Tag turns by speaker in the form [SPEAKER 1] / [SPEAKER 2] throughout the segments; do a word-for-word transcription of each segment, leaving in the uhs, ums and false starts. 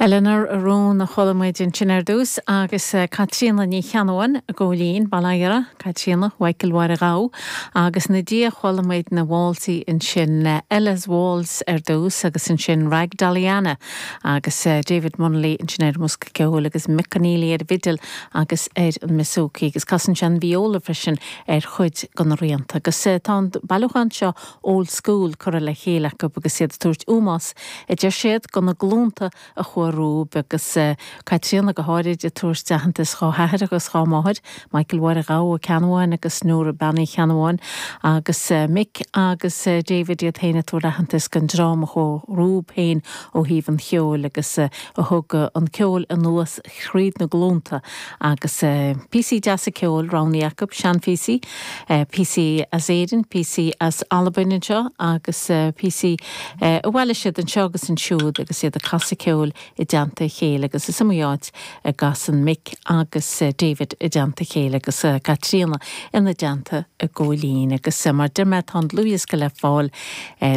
[SPEAKER 1] Eleanor Rón a chuala muid ansin ar dtús agus eh, Caitríona Ní Cheannabháin i gCóilín Baile Caitríona Mhichael Mháire Ghabh agus ina diaidh chuala muid na válsaí ansin eh, Ella's Waltz ar dtús agus ansin Rag Daliana agus eh, David Munnelly ansin ar an mbosca ceoil agus Mick Conneely ar bhfidil agus ar an mbouzouki agus casann sé an viola freisin ar chuid de na rianta. Agus tá an bailiúchán seo old school curtha le chéile acu agus iad ag tabhairt ómós a deir siad do na glúnta a chuaigh rompu agus Caitríona go háirid ag tabhairt aitheantas dá hathair agus dá máthair, Michael Mháire Ghabh Ceannabháin agus Nóra Bean Uí Cheannabháin agus Mick agus David iad féin ag tabhairt aitheantas don dream a chuaigh rompu féin ó thaobh an cheoil agus a thug an ceol anuas thríd na glúnta agus píosaí deasa ceoil roghnaithe acu seanphíosaí, píosaí as Éirinn, píosaí as Albain anseo agus píosaí a bhailigh siad anseo agus ansiúd agus iad ag casadh ceoil i dteannta a chéile agus is iomaí áit a gcasann Mick agus David i dteannta a chéile agus Caitríona ina dteannta i gCóilín agus mar deir mé tá an dlúthdhiosca le fáil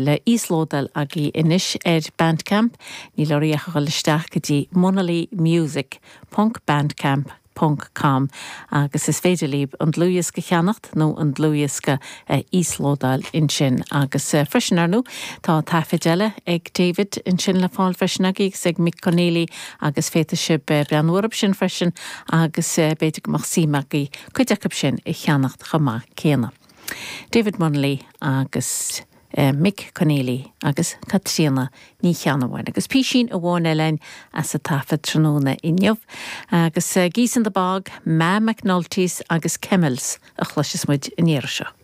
[SPEAKER 1] le íoslódáil agaibh anois ar Bandcamp, níl oraibh ach a dhul isteach go dtí Munnelly Music ponc bandcamp ponc com agus is féidir libh an dlúthdhiosca cheannacht nó an dlúthdhiosca íoslódáil ansin agus freisin ar ndóigh tá taifid eile ag David ansin le fáil freisin agus ag Mick Conneely agus féadfaidh sibh breathnú orthu sin freisin agus b'fhéidir go mbeadh suim agaibh cuid acu sin a cheannacht chomh maith céanna. David Munnelly agus Mick Conneely agus Caitríona Ní Cheannabháin agus písín amháin eile as an taifead tráthnóna inniu agus Geese in the Bog, Ma McNulty's agus Kemmels a chloisfidh muid an iarraidh seo.